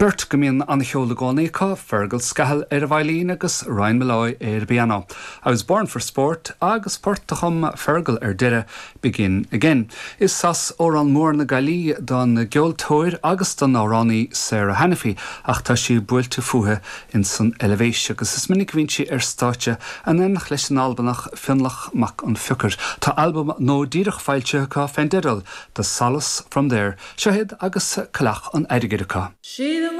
Beirt go mbíonn an-cheol i gcónaí acu, Fergal Scahill ar an veidhlín agus Ryan Molloy ar an bpianó. I was born for sport agus port a chum Fergal ar deireadh, Begin Again. Is as Órán Mór na Gaillimhe don gceoltóir agus don amhránaí Sarah Hanniffy ach tá sí buailte fúithi ins an Eilvéis agus is minic a bhíonn sí ar stáitse in éineacht leis an Albanach Fionnlach Mac an Phiocair. Tá albam nua díreach foilsithe acu fén dteideal The Solace From There. Seo iad agus Coileach an Airgid acu. Sí the.